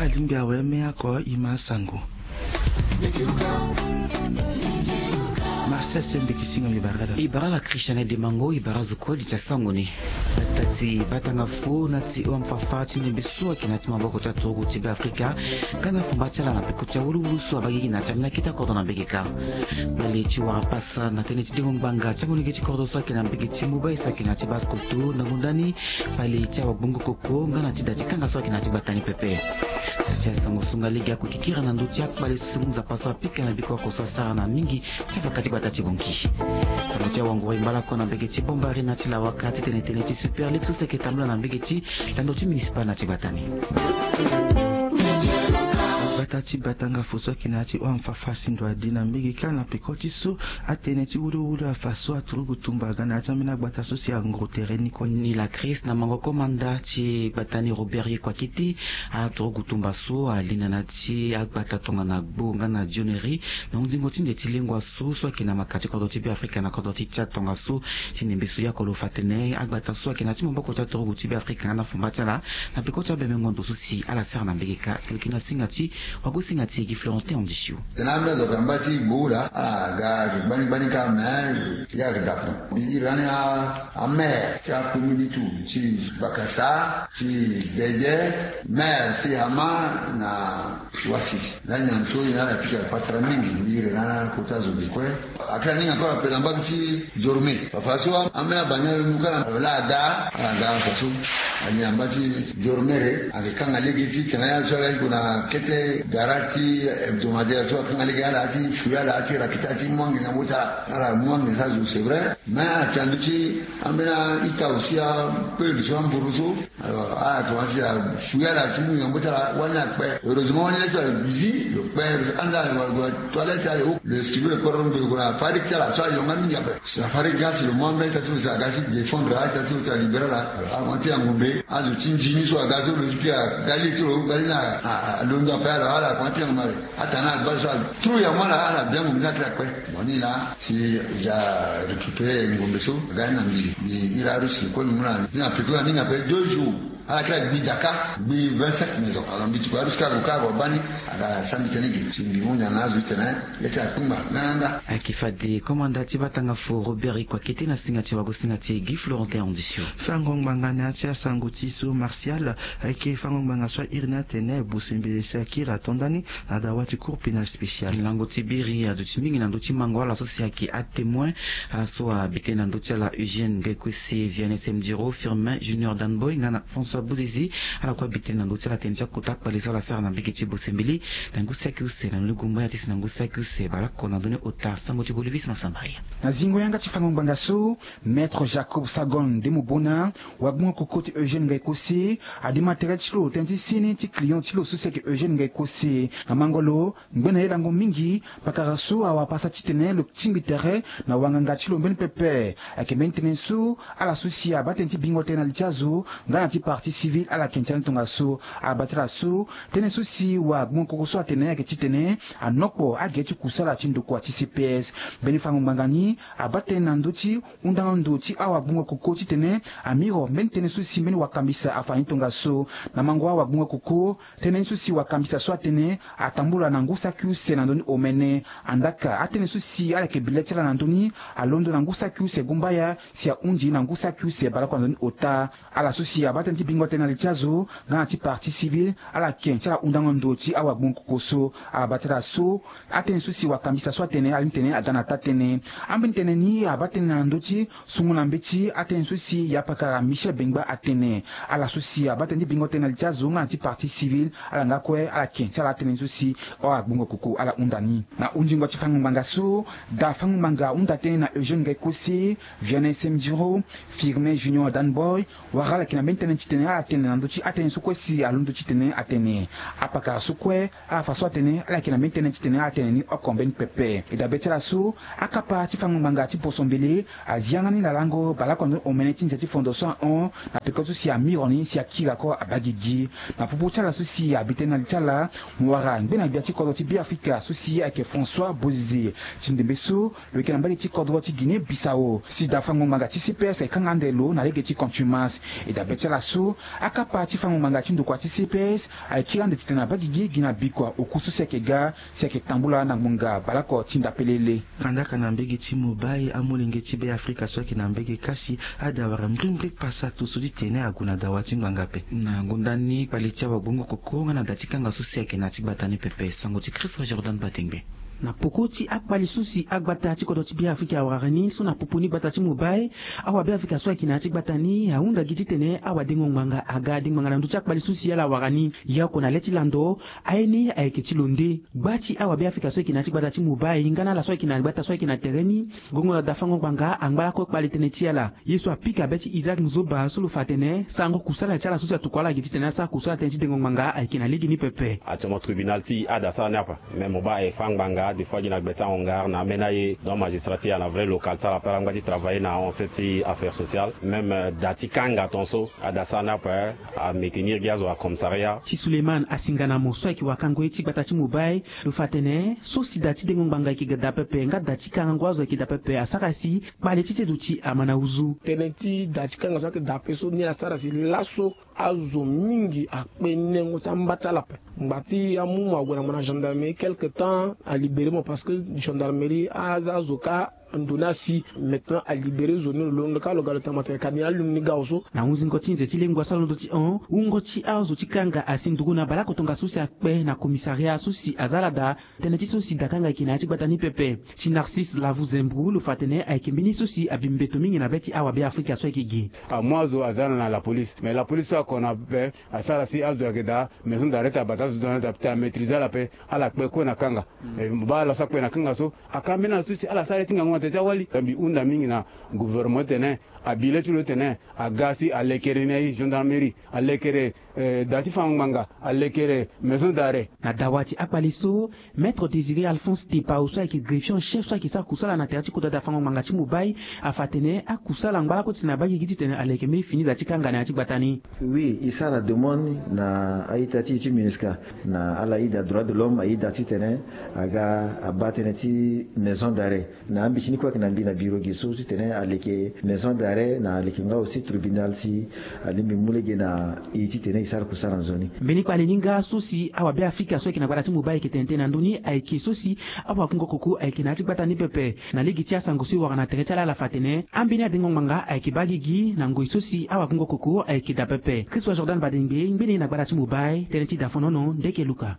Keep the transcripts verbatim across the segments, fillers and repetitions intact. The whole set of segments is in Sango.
Lingbi awe me ako ima sango. Marcel Sembe Kisinga mi barada. I bara la Christiane Demango, i bara zo kue di ti asango ni. Gbata ti batanga fo na ti O M Fafa ti ndembe so ayeke na ti maboko ti aturugu ti Be Afrika, nga na fumba ti ala na peko ti awuluwulu so abaa gigi na ti ambeni akete akodro na mbege kâ. Kpale ti wara pasa na tënë ti dengo ngbanga ti amolenge ti kodro so ayeke na mbege ti Mobay so ayeke na ti Basse-Kotto, na ngonda ni kpale ti awagbongo koko nga na ti da ti kanga so ayeke na ti gbata ni pepe. Sa ti asango so nga lege ako kikira na ndö ti akpale so si mu nzapa so apika na biko oko so asara na mingi ti avaka ti gbata ti Bangui. Sango ti awango e ngba lakue na mbege ti Bambarena ti Lawaka titene tënë ti Super League so si ayeke tambula na mbege ti lando ti municipal na ti gbata ni. Gbata ti batanga fo so ayeke na ya ti O M Fafa si ndo adi na mbege kâ na peko ti so atënë ti wuluwulu afa so aturugu tumba aga na ya ti ambeni agbata so si angro tere ni kue. Ni la crise na mango komanda ti gbata ni Robert Yekua Kiti, aturugu tumba so ali na na ti agbata tongana Gbo nga na Dioneri, na hunzingo ti nde ti lengua so so ayeke na maka ti kodro ti Be Afrika na kodro ti Tchad tongaso. Ti ndembe so yako lo fa tene agbata so ayeke na ti maboko ti aturugu ti Be Afrika nga na fumba ti ala na peko ti abemengo ndo so si ala sara na mbege kâ. Lo yeke na singa ti wagosinga ti Guy Florentin Andisio. Tena ambeni azo ayeke na mba ti Gbo laa, ala ga ayeke gbani gbani kâ, me ye ayeke dapo. Mbi iri lani a, amaire ti akomini tu ti Bakasa, ti Bede, maire ti Hama na Wasi. Lani nyan so ye na ala pika patara mingi, mbi iri na kota zo ge kue. Ayeke na ni nga kue na pela mbage ti Diormé. Fafa so ambeni abani alondo kâ na la ada, ala ga fafa so. Ali na mba ti Diormé re, ayeke kanga lege ti tena ya so ala iko na kete gara ti hebdomadaire so akanga lege ala ti fouillé ala ti rakita ti mwange na mbo ti ala. Ala mwange sa zo, c'est vrai. Mais ala ti na ndö ti ambeni a-ita aussi, apeuple so, amburu so. Alors ala tongana si afouillé ala ti mu yambo ti ala wani akpe. Heureusement wani la ti ala zi lo kpe. Anda lo toilette ala, lo escrivait, lo kpe rongo lo kona farik ti ala so ayonga mingi ape. Si na farik ga si lo mu ambeni ita ti lo si aga si défendre a-ita ti lo si alibéré ala. Alors akonga ti angombe azo ti nzini so aga so lo ti pika gali ti lo gali na alondo ape. Alors ala akonga ti angombe. Atana abal so atru yamo ala, ala biango mbi na ti akpe. Bon ni laa si ja récupéré ngombe so aga ni na mbi, mbi iri arusi kue mbi mu na ni na peko ya ni na pe deux jours. Ala kiri agbi daka gbi vingt-cinq maisons. Alors mbi tuku arusi kâ avocat avocat bani aga sa mbi tene ge si mbi mu nyana azo ti tene. Ye ti akpengba nganganga. Ayeke fade komanda ti batanga fo Robert Ikua Kete na singa ti wagosinga ti Guy Florentin Andisio. Fango ngbanga na ya ti asango ti so Martial ayeke fango ngbanga so airi ni atene bosembele si akiri ato ndani na dawa ti cour pénal spécial. Lango ti biri aduti mingi na ndö ti mango ala so si ayeke atémoin. Ala so abi tënë na ndö ti ala Eugène Gaïkosé, Vianney Semdiro, Firmin Junior Danboy nga na François Bouzizi. Ala kue abi tënë na ndö ti ala tënë ti akota kpale so ala sara na mbege ti bosembele na ngu saki use na ndoni gumbaya ti si na ngu saki use baleoko na ndoni ota. Sango ti Bolivis na Samaria. Na zingo yanga ti fango ngbanga so, Maître Jacob Sagon Ndemobona, wagbongo koko ti Eugène Gaïkosé, adi matériel ti lo tënë ti seni ti client ti lo so si ayeke Eugène Gaïkosé. Na mango lo, ngbene ye lango mingi, pakara so awara pasa titene lo tingbi tere na wanganga ti lo mbeni pepe. Ayeke mbeni tënë so ala so si abaa tënë ti bingo tënë na li ti azo nga na ti partie civile ala yeke ti ala ni tongaso. Abaa ti ala so tënë so si wagbongo koko so atene ayeke titene anokpo agere ti kusala ti ndokua ti C P S. Mbeni fango ngbanga ni abaa tënë na ndö ti hundango ndo ti awagbongo koko titene amiro mbeni tënë so si mbeni wakambisa afa ni tongaso. Na mango awagbongo koko, tënë ni so si wakambisa so atene atambula na ngu saki use na ndö ni omene. Andaka atënë so si ala yeke bi le ti ala na ndö ni alondo na ngu saki use gumbaya si ahundi na ngu saki use baleoko na ndö ni ota. Ala so si abaa tënë ti bingo tënë na li ti azo nga na ti partie civile ala yeke ti ala hundango ndo ti awagbongo koko so. Abaa ti ala so atënë so si wakambisa so atene ala ni tene aga na taa tënë. Ambeni tënë ni abaa tënë na ndö ti sungo na mbeti atënë so si yapakara Michel Bengba atene. Ala so si abaa tënë ti bingo tënë na li ti azo nga na ti partie civile ala nga kue ala yeke ti ala atënë ni so si awagbongo koko ala hunda ni. Na hundingo ti fango ngbanga so, da fango ngbanga ahunda tënë na Eugène Gaïkosé, Vianney Semdiro, Firmin Junior Danboy, wala ala yeke na mbeni tënë titene ala tene na ndö ti atënë so kue si alondo titene atene. Apakara so kue ala fa so atene ala yeke na mbeni tënë titene ala tene ni oko mbeni pepe. E dabe ti ala so, akapa ti fango ngbanga ti boso mbele azi yanga ni na lango baleoko na ndö ni omene ti nze ti fondo so ahon na peko so si amiro ni si akiri ako abaa gigi. Na popo ti ala so si abi tënë na li ti ala, mo wara ngbene gbia ti kodro ti Beafrika so si ayeke François Bozizé. Ti ndembe so, lo yeke na mbage ti kodro ti Guinée Bissau si da fango ngbanga ti C P S ayeke kanga ande lo na lege ti contumace. E dabe ti ala so, Akapa ti fango ngbanga ti ndokua ti C P S ayeke kiri ande titene abaa gigi gi na bikua oku so si ayeke ga si ayeke tambula na ngbonga baleoko ti ndapelele. Kandaka na mbege ti Mobay, amolenge ti Be Afrika so ayeke na mbege kasi, ade awara mbrimbri pasa to so ti tene ague na dawa ti ngbanga ape. Na gonda ni kpale ti awagbongo koko nga na da ti kanga so si ayeke na ya ti gbata ni pepe. Sango ti Christophe Jordan Badengbe. Na poko ti akpale so si agbata ti kodro ti Be Afrika awara ni so na popo ni gbata ti Mobay, awabe Afrika so ayeke na ya ti gbata ni ahunda gi titene awadengo ngbanga aga dengo ngbanga na ndö ti akpale so si ala wara ni. Ye oko na le ti lando, aye ni ayeke ti lo nde. Gba ti awabe Afrika so ayeke na ya ti gbata ti Mobay nga na ala so ayeke na gbata so ayeke na tere ni, gongo na dafango ngbanga angba lakue kpale tënë ti ala. Ye so apika be ti Isaac Nzoba so lo fa atene sarango kusala ti ala so si atokua ala gi titene asara kusala tënë ti dengo ngbanga ayeke na lege ni pepe. Actuellement tribunal ti ade asara ni ape. Même Mobay aye fâ ngbanga des fois gi na gbe ti ahon ngara na ambeni aye. Donc magistrat ti ala na vrai local ti ala ape ala ngba ti travailler na ahon se ti affaire sociale. Même da ti kanga ton so ade asara ni ape. Amétenir gi azo na commissariat. Ti Suleiman Asinganamo so ayeke wakango ye ti gbata ti Mobay, lo fa atene so si da ti dengo ngbanga ayeke ga da pepe nga da ti karango azo ayeke da pepe asara si kpale ti sedo ti ama na uzu. Tënë ti da ti kanga so ayeke da ape so ni asara si laso azo mingi akpe nengo ti amba ti ala ape. Ngba ti amu mo ague na mo na gendarmerie quelque temps alibéré mo parce que gendarmerie aza azo kâ ndo ni asi. Maintenant alibéré zo ni lo londo kâ lo ga lo tene mo atene ka ni alundu ni ga awe so. Na hunzingo ti nze ti lengua so alondo ti hon wungo ti azo ti kanga asi nduru na baleoko tongaso si akpe na commissariat so si aza ala da. Tënë ti so si dakanga ayeke na ya ti gbata ni pepe. Si Narcisse Lavu Zembru lo fa atene ayeke mbeni so si abi mbeto mingi na be ti awabe Afrika so ayeke gi. Amu azo aza na la police mais la police so ako na be asara si azo ayeke daa maison d'arrêt ti abata azo ti daa ti amaîtriser ala ape. Ala kpe kue na kanga. Baa ala so akpe na kanga so aka mbeni ala so si ala sara ye ti ngangu na tere ti awali. Mbi hunda mingi na gouvernement ti tene abi le ti lo ti tene aga si alekere ni aye gendarmerie alekere da ti fango ngbanga alekere maison d'arrêt. Na dawa ti akpale so, maître Désiré Alphonse Tepao so ayeke greffier en chef so ayeke sara kusala na tere ti kota da fango ngbanga ti Mobay afa atene akusala angba lakue titene abaa gigi titene aleke mbeni fini da ti kanga na ya ti gbata ni. Oui, e sara demande na a-ita ti e ti MINUSCA na ala ida droit de l'homme aida titene aga abaa tënë ti maison d'arrêt. Na ambeti ni kue ayeke na mbi na biro ge so titene aleke maison d'arrêt na aleke nga aussi tribunal si alingbi mu lege na e titene e sara kusara nzoni. Mbeni kpale ni nga so si awabe Afrika so ayeke na gbata ti Mobay ayeke tene tënë na ndö ni ayeke so si awakungo koko ayeke na ya ti gbata ni pepe. Na lege ti asango so e wara na tere ti ala ala fa atene ambeni adengo ngbanga ayeke baa gigi na ngoi so si awakungo koko ayeke daa pepe. Christophe Jordan Badengbe ngbene na gbata ti Mobay tënë ti dafonono ndeke luka.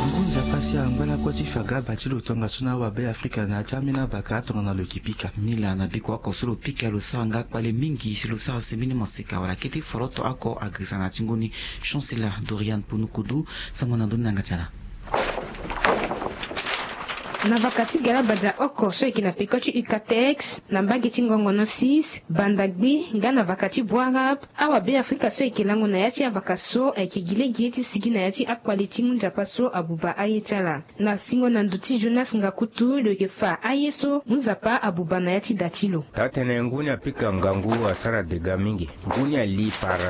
Ngu nzapa si angba lakue ti fa ga ba ti lo tongaso na awabe Afrika na ya ti ambeni avaka tongana lo yeke pika. Nilaa na bikua oko so lo pika lo sara nga kpale mingi si lo sara si mbeni moseka wala kete foroto oko agresa na ya ti ngu ni. Chancela Dorian Ponukudu. Sango na ndö ni na yanga ti ala. Na vaka ti galabadia oko so ayeke na peko ti UCATEX na mbage ti ngongono six, banda gbi nga na vaka ti Bouarab, awabe Afrika so ayeke lango na ya ti avaka so ayeke gi lege ti sigi na ya ti akpale ti ngu nzapa so abuba aye ti ala. Na singo na ndo ti Jonas Ngakutu lo yeke fa aye so ngu nzapa abuba na ya ti da ti lo. Taa-tënë ngu ni apika ngangu asara dégât mingi. Ngu ni ali par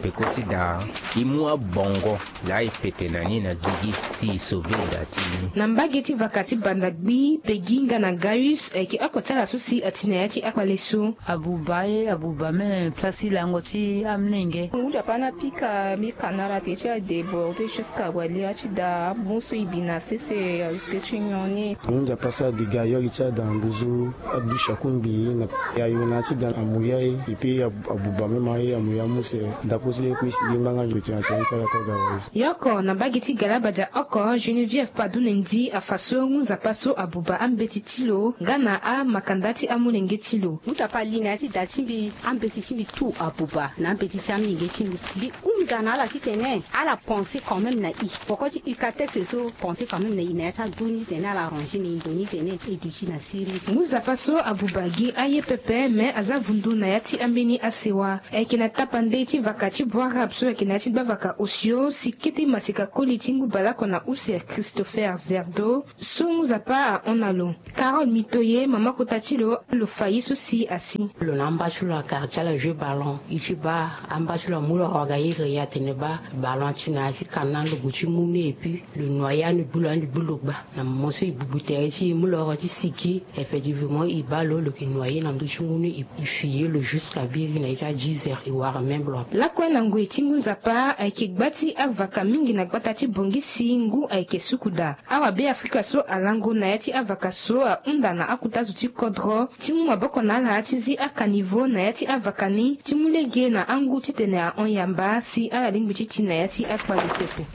peko ti da e mu abongo laa e pete na ni na gigi si e sauver da ti e ni. Na mbage ti vaka ti banda gbi, Peggy nga na Gaius ayeke oko ti ala so si ati na ya ti akpale so. Abuba aye, abuba même place ti lango ti amolenge. Ngu nzapa ni apika mbi ka na ala te ti adébordé jusqu'à wali ya ti da abon so e bi na sese a risque ti nyon ni. Ngu nzapa asara dégât yo ali ti ada nduzu. Adusi akungbi na ya yo na ya ti da amu ya ye. Epi abuba même aye amu ya muse. Ndako ti le kue e sigi mbanga nzoni ti na tënë ti ala kue aga wa ye so. Yo oko na mbage ti galabadia oko Geneviève Padunendi afa so ngu nzapa so abuba ambeti ti lo nga na amakanda ti amolenge ti lo. Ngu nzapa ali na ya ti da ti mbi ambeti ti mbi tout abuba na ambeti ti amolenge ti mbi. Mbi hunda na ala titene ala pense quand même na e. Poko ti UCATEX so pense quand même na e na ya ti agu ni titene ala arranger na e ndo ni titene e duti na siriri. Ngu nzapa so abuba gi aye pepe me aza vundu na ya ti ambeni asewa. Ayeke na tapande ti vaka ti Bouarab so ayeke na ya ti gbavaka osio si kete maseka koli ti ngu baleoko na use Christopher Zerdo so Ngu Nzapa ahon na lo. Carole Mitoye, mama kota ti lo, lo fa ye so si asi. Lo na amba ti lo na quartier ala joue ballon. E ti baa amba ti lo amu lo oro aga iri, atene baa ballon ti na ya ti kana lo gue ti mu ni, et puis lo noyer ande gbu lo, ande gbu lo gba. Na moment so e gbugbute ti e mu lo oro ti sigi, effectivement e baa lo, lo yeke noyer na ndö ti mu ni, e, e fi ye lo jusqu'à biri na ya ti a dix heures, e wara même lo. Lakue na ngoi ti ngu Nzapa ayeke gba ti avaka mingi na gbata ti Bangui si ngu ayeke suku daa. Awa Beafrika so alango na ya ti avaka so ahunda na akota zo ti kodro ti mu maboko na ala ti zi acaniveau na ya ti avaka ni, ti mu lege na angu titene ahon yamba si ala lingbi ti ti na ya ti akpale pepe.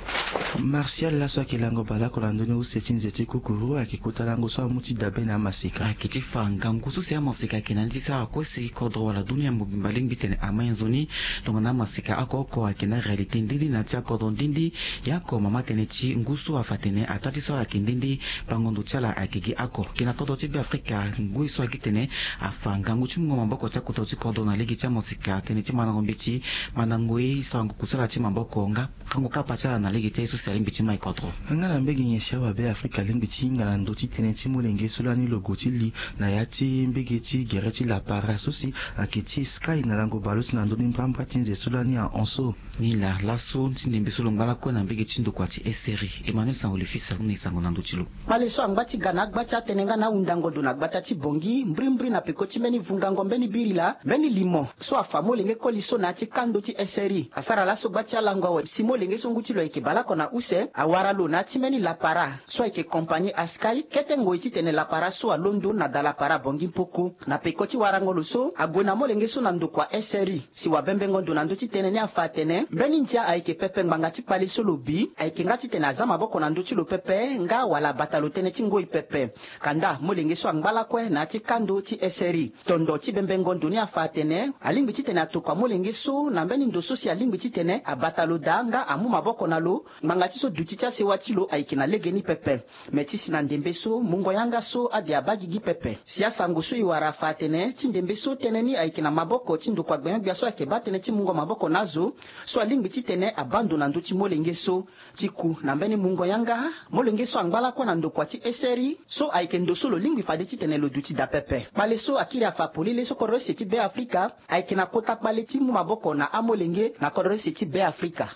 Martial, laso ayeke lango baleoko na ndö ni use ti nze ti kukuru, ayeke kota lango so amu ti dabe na amaseka. Ayeke ti fa ngangu so si amaseka ayeke na ni ti sara kue si kodro wala dunia mobimba alingbi titene amai nzoni. Tongana amaseka oko oko ayeke na réalité ndindi na ya ti akodro ndindi. Ya oko mama tënë ti ngu so afa atene ataa ti so ala yeke ndindi, bango ndo ti ala ayeke gi oko. Gi na kodro ti Beafrika, ngoi so ayeke titene afa ngangu ti mungo maboko ti akota ti kodro na lege ti amaseka, tënë ti mandango mbeti, mandango ye, sarango kusala ti maboko nga kango kapa ti ala na lege ti aye so si alingbi ti mai kodro. Nga na mbege nyen si awa Beafrika alingbi ti hinga na ndö ti tënë ti molenge so lani lo gue ti li na ya ti mbege ti gere ti lapara so si ayeke ti Sky na lango baleuse na ndö ni mbrambra ti nze so lani ahon so. Ni laa laso ti ndembe so lo ngba lakue na mbege ti ndokua ti S R I. Emmanuel Sango le fils ahunda e sango na ndö ti lo. Kpale so angba ti ga na agba ti atënë nga na ahundango ndo na gbata ti Bangui mbrimbri na peko ti mbeni vungango mbeni biri laa mbeni limo so afa molenge koli so na ya ti kando ti S R I asara laso gba ti alango awe si molenge so ngu ti lo ayeke baleoko na use awara lo na ya ti mbeni lapara so ayeke compagnie Sky kete ngoi titene lapara so alondo na da lapara Bangui Mpoko. Na peko ti warango lo so ague na molenge so na ndokua S R I. Si wabembengo ndo na ndö ti tënë ni afa atene mbeni ndia ayeke pepe ngbanga ti kpale so lo bi ayeke nga titene aza maboko na ndö ti lo pepe nga wala abata lo tënë ti ngoi pepe. Kanda molenge so angba lakue na ya ti kando ti S R I. Tondo ti bembengo ndo ni afa atene alingbi titene atokua molenge so na mbeni ndo so si alingbi titene abata lo daa nga amu maboko na lo ngbanga ti so duti ti asewa ti lo ayeke na legeni pepe. Me ti si na ndembe so mungo yanga so ade abaa gigi pepe. Si asango so e wara afa atene ti ndembe so tënë ni ayeke na maboko ti ndokua gbengbe gbia so ayeke baa tënë ti mungo maboko na azo so alingbi titene abaa ndo na ndö ti molenge so. Ti ku na mbeni mungo yanga, molenge so angba lakue na ndokua ti S R I so ayeke ndo so lo lingbi fade titene lo duti daa pepe. Kpale so akiri afa polele so kodro use ti Beafrika ayeke na kota kpale ti mu maboko na amolenge na kodro use ti Beafrika.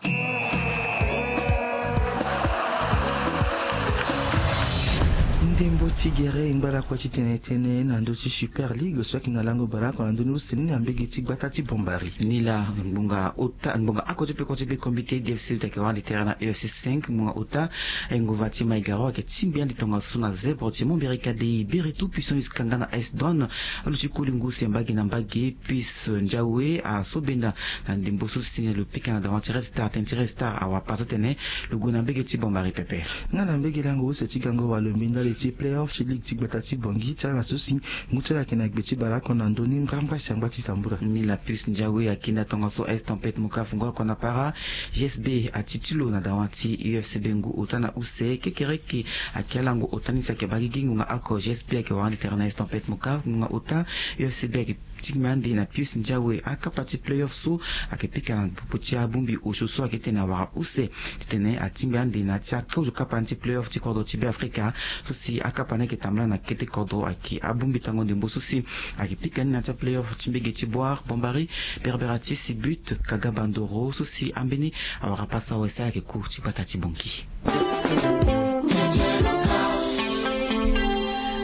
Ndembo ti gere e ngba lakue ti tene tënë na ndö ti Super League so ayeke na lango baleoko na ndö ni use ni na mbege ti gbata ti Bombari. Ni laa ngbonga ota, ngbonga oko ti peko ti be comité D F C uta ayeke wara ande tere na U F C cinq, ngbonga ota, e, nguva ti Maigaro ayeke tingbi ande tongaso na zèbre ti Mombiri Kadei, Biri Tout Puissant jusqu'à nga na Ice Don. Aluti koli ngu use mbage na mbage, Peace Ndiawe asobenda na ndembo so si na lo pika na dawa ti Red Star, tënë ti Red Star awara pasa tene lo gue na mbege ti Bombari pepe. Nga na mbege lango use ti gango walo mbi ndali ti playoff ti ligue ti gbata ti Bangui ti ala so si ngu ti ala ayeke na gbe ti baleoko na ndö ni mbrambra si angba ti tambula. Ni la Puce Ndiawe akenda tongaso Ice Tempête Mokaf ngu oko na para. G S B ati ti lo na dawa ti U F C B ngu ota na use. Kekereke ayeke alango ota ni si ayeke baa gigi ngonga oko. G S B ayeke wara ande tere na Ice Tempête Mokaf ngonga ota. U F C B ayeke tingbi ande na Pius Ndiawe. Akapa ti playoff so ayeke pika na popo ti abongbi osio so ayeke tene awara use titene atingbi ande na ya ti akozo kapa ni ti playoff ti kodro ti Beafrika. So si akapa ni ayeke tambula na kete kodro ayeke abongbi tango ndembo so si ayeke pika ni na ya ti aplayoff ti mbege ti Boire, Bombari, Berberatis, But, Kaga Bandoro so si ambeni awara pasa awe si ala yeke ku ti gbata ti Bangui.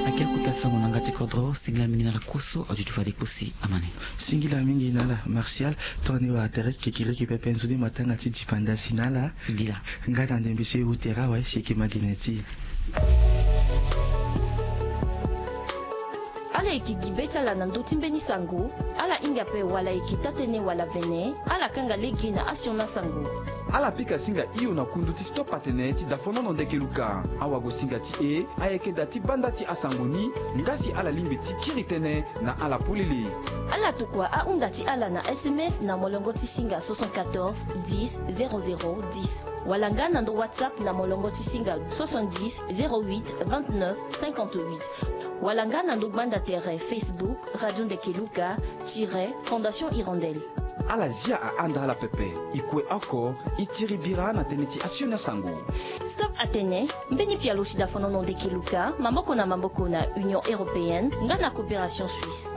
Ayeke akota sango na yanga ti kodro. Singila mingi na ala kue so aduti fade kue si amani. Singila mingi na ala Martial. Tongana ni wara tere kekereke pepe nzoni matanga ti dipanda si na ala. Singila. Nga na ndembe so e wu tere awe si e yeke ma gi na ya ti e. Ala yeke gi be ti ala na ndö ti mbeni sango. Ala hinga ape wala e yeke taa-tënë wala vene, ala kanga lege na asioni asango. Ala pika singa hio na kundu ti Stop Atene ti Dafonono Ndekeluka. Awagosinga ti e ayeke daa ti banda ti asango ni, nga si ala lingbi ti kiri tënë na ala polele. Ala tokua ahunda ti ala na S M S na molongo ti singa soixante-quatorze dix zéro zéro dix. Wala nga na ndo WhatsApp na molongo ti singa soixante-dix zéro huit vingt-neuf cinquante-huit. Wala nga na ndo gbanda tere Facebook Radio Ndekeluka tiret Fondation Hirondelle. Ala zia ahanda ala pepe. E kue oko, e tiri bira na tënë ti asioni asango. Stop atene, mbeni pialo si dafanono ndeke luka maboko na maboko na Union européenne nga na Coopération Suisse.